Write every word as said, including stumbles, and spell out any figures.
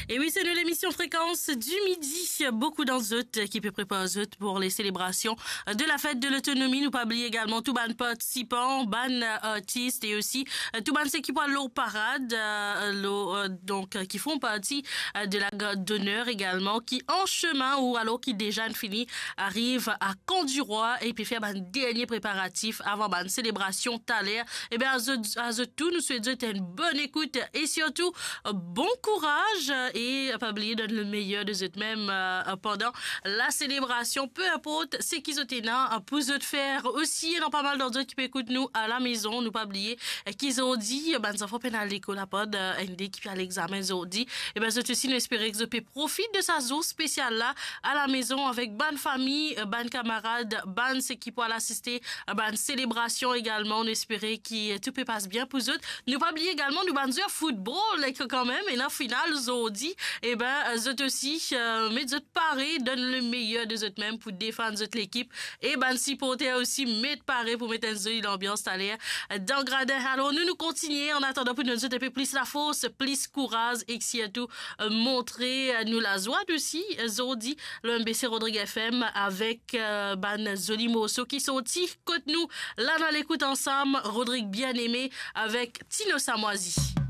E wi, se nou lemision Fréquence du Midi. Boukou dan zot ki pe prepar zot pou le selebrasion de la fèt de lotonomi. Nou pa bliye egalman tou bann partisipan, bann, euh, artis e osi, euh, tou bann seki pou al lor parad, euh, lor, euh, donk, euh, ki font parti, euh, de la garde d'honneur egalman, ki an semin ou alor ki deza inn fini ariv a Kan-di-Rwa e pe fer bann dernie preparatif avan bann selebrasion taler. Ebien, a zot, a zot tou, nou swet zot enn bonn ekout e sirtou, euh, bon kouraz, euh, e pa bliye donn le meyer de zot mem, euh, pandan la selebrasion, pe inport seki zot ena, euh, pou zot fer. Osi, ena pa mal dan zot ki pe ekout nou a la mezon, nou pa bliye, euh, ki zordi, euh, bann zanfan pena lekol, apard, euh, enn de ki pe al examen zordi. Ebien, zot osi, nou espere ki zot pe profit de sa zour spesial la a la mezon avek bann fami, euh, bann kamarad, bann seki pou al asiste, euh, bann selebrasion egalman. Nou espere ki, euh, tou pe pas bien pou zot. Nou pa bliye egalman nou bann zwer foutbol, ek kanmem ena final zordi. Ebien, euh, zot osi, euh, met zot pare, donn le meyer de zot mem pou defann zot lekip. E bann siporter osi met pare pou met enn zoli lanbians taler, euh, dan gradin. Alor, nou, nou kontigne, an atandan, pou donn zot enpe plis lafors, plis kouraz e sirtou, euh, montre, euh, nou lazwa osi, euh, zordi, lor M B C Rodrig F M avek, euh, bann zoli morso ki sorti kot nou. La, nou al ekout ansam Rodrig Bien-Aimé avek Tino Samwazi.